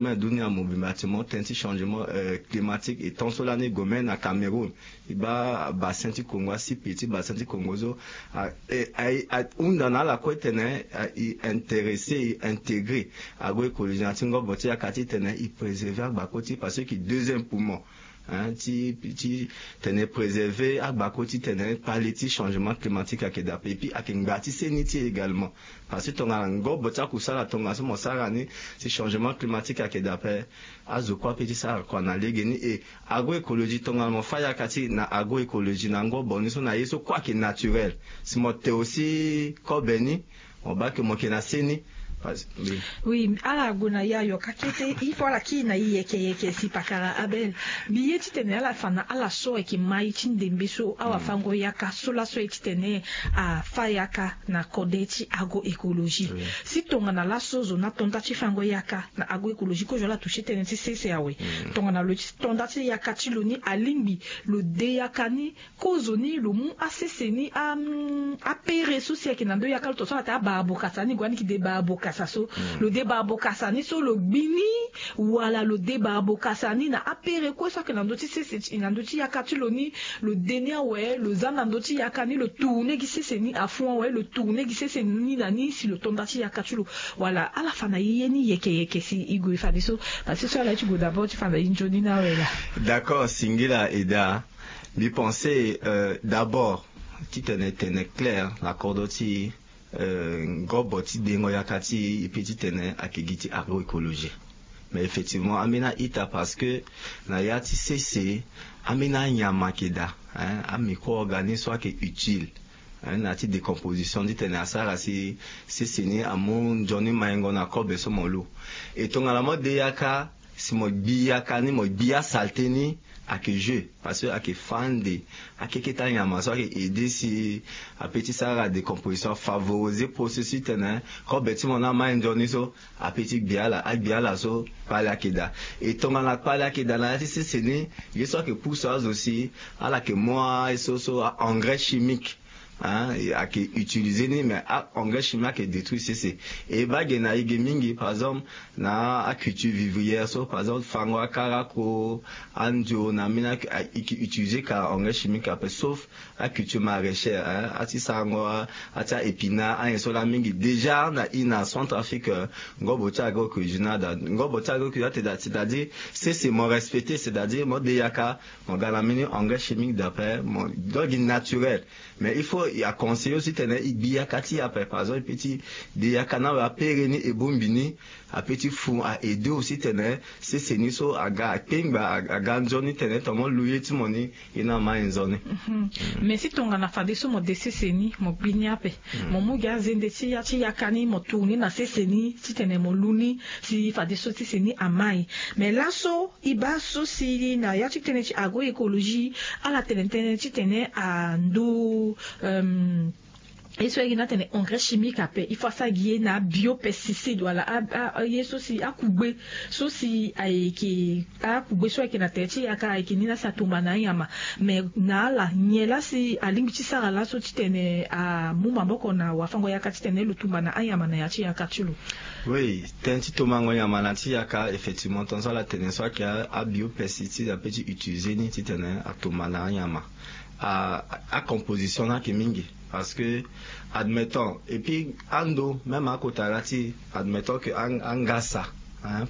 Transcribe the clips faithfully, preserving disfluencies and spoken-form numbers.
Dunia mobimba ti mo tënë ti changement climatique e tant so lani e gue même na Cameroun. E baa bassin ti Congo, asipe ti bassin ti Congo so ahunda na ala kue titene e intéressé, e intégré agroécologie na ti ngobo ti yaka titene e préserver agbako ti e parce que deuxième poumon ti ti tene préserver agbako titene pali ti changement climatique ayeke daa ape epui ayeke ngba ti seni ti e également. Parce que tongana ngobo ti akusala tongaso mo sara ni, si changement climatique ayeke daa ape, azo kue ape ti sara kua na legeni. E agroécologie tongana mo fâ yaka ti na agroécologie na ngobo ni so na ye so kue ayeke naturel, si mo te aussi kobe ni, mo baa ke mo yeke na seni. Oui, ala gue na ya yoka kete il faut ala kiri na e yeke yeke si pakara Abel. Mbi ye titene ala fa na ala so ayeke mai ti ndembe so awafango yaka so laso ye titene afâ yaka na kode ti agroécologie. Si tongana laso zo na tonda ti fango yaka na agroécologie kozo ala toucher tënë ti sese awe. Tongana lo ti tonda ti yaka ti lo ni alingbi lo de yaka ni, kozo ni lo mu asese ni, apere so si ayeke na ndö yaka lo to so ala te abaa bokasa ni gue ani ki de baa bokasa so, lo de baa bokasa ni so lo gbi ni, wala lo de baa bokasa ni na apere kue so ayeke na ndö ti sese ti na ndö ti yaka ti lo ni. Lo de ni awe lo za na ndö ti yaka ni lo tourner gi sese ni afu awe lo tourner gi sese ni na ni si lo tonda ti yaka ti lo. Wala ala fa na e ye ni yeke yeke si e gue fadeso. Parce que so ala ye ti gue d'abord ti fa na e nzoni ni awe laa. D'accord, singila eda. Mbi pense d'abord titene tene clair na kodro ti ngobo ti dengo yaka ti e pe titene ayeke gi ti agroécologie. Mais effectivement ambeni a-ita parce que na ya ti sese ambeni anyama ayeke daa, amicro-organisme so ayeke utile na ya ti décomposition titene asara si sese ni amu nzoni maingo na kobe so mo lu. E tongana mo de yaka si mo gbi yaka ni mo gbi asalte ni, ayeke jeu parce que ayeke fâ ande akekete anyama so ayeke aidé si ape ti sara décomposition afavoriser processus titene kobe ti mo ni amai nzoni so ape ti gbi ala agbi ala so. Kpale ayeke daa. E tongana kpale ayeke daa na ya ti sese ni, ye so ayeke pusu azo si ala yeke mu aye so so a-engrais chimique. Ayeke utiliser ni mais a-engrais chimique ayeke détruire sese. E baa ge na e ge mingi par exemple na aculture vivrière so par exemple fango akarako, andio na ambeni ayeke utiliser ka engrais chimique ape sauf aculture maraîchère, ati sarango ati a-épinard anyen so laa mingi déjà na i na Centrafrique. Ngobo ti agroécologie ni ada ngobo ti agroécologie ni ada c'est-à-dire sese mo respecter c'est-à-dire mo de yaka mo ga na mbeni engrais chimique d'après mo donk gi naturel. Mais il faut aconseiller aussi tene e gbi yaka ti e ape par exemple e pe ti de yaka ni awe apere ni e bongbi ni. Ape ti fu a-aider aussi tene sese ni so aga akpengba aga nzoni tene tongana mo lu ye ti mo ni. Ye ni ama e nzoni. Mais si tongana fadeso mo de sese ni mo gbi ni ape, mo mu gi azende ti ya ti yaka ni mo tour ni na sese ni titene mo lu ni si fadeso sese ni ama e. Mais laso e baa so si na ya ti tënë ti agroécologie ala tene tënë titene ando ye so ayeke ni atene engrais chimique ape il faut asara gi ye na abiopesticide wala aye so si akugbe so si ayeke akugbe so ayeke na tere ti yaka ayeke ni laa si atumba na anyama. Mais na ala nyen laa si alingbi ti sara laso titene amu maboko na wafango yaka titene lo tumba na anyama na ya ti yaka ti lo? Oui, tënë ti tumbango nyama na ti yaka effectivement tongaso ala tene so ayeke abiopesticide ape ti utiliser ni titene atumba na anyama. Acomposition ni ayeke mingi parce que admettons et puis ando même akota la ti admettons que angasa,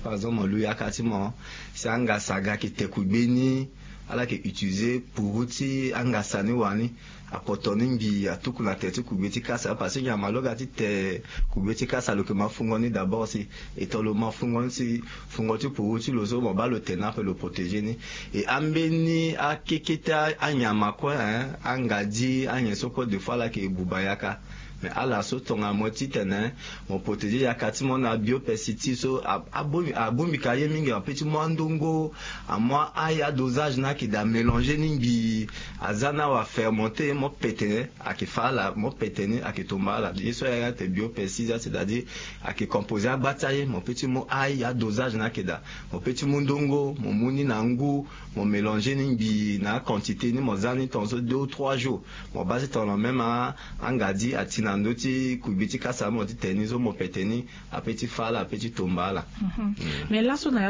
par exemple mo lu yaka ti mo si angasa aga ayeke te kugbe ni. Ala yeke utiliser puru ti angasa ni wani apoto ni ngbii atuku na tere ti kugbe ti kasa parce que nyama lo ga ti te kugbe ti kasa lo yeke ma fungo ni d'abord si e to lo ma fungo ni si fungo ti puru ti lo so mo baa lo te ni ape lo protéger ni. E ambeni akekete anyama kue, angadi anyen so kue de fois ala yeke buba yaka. Mais ala so tongana mo titene mo protéger yaka ti mo na biopesticide so abongbi ka ye mingi ape ti mu andongo amu aye adosage ni ayeke daa mélanger ni ngbii aza ni awa fermenter mo pete. Ayeke fa ala mo pete ni ayeke tomba ala ye so ayeke ate biopesticide c'est-à-dire ayeke composer agba ti aye mo pe ti mu aye adosage ni ayeke daa. Mo pe ti mu ndongo mo mu ni na ngu mo mélanger ni ngbii na aquantité ni mo za ni tongaso deux ou trois jours. Mo baa ti tongana même angadi ati na na ndö ti kubi ti kasa mo ti tene ni zo mo pete ni. Ape ti fâ ala ape ti tomba ala. Mais laso na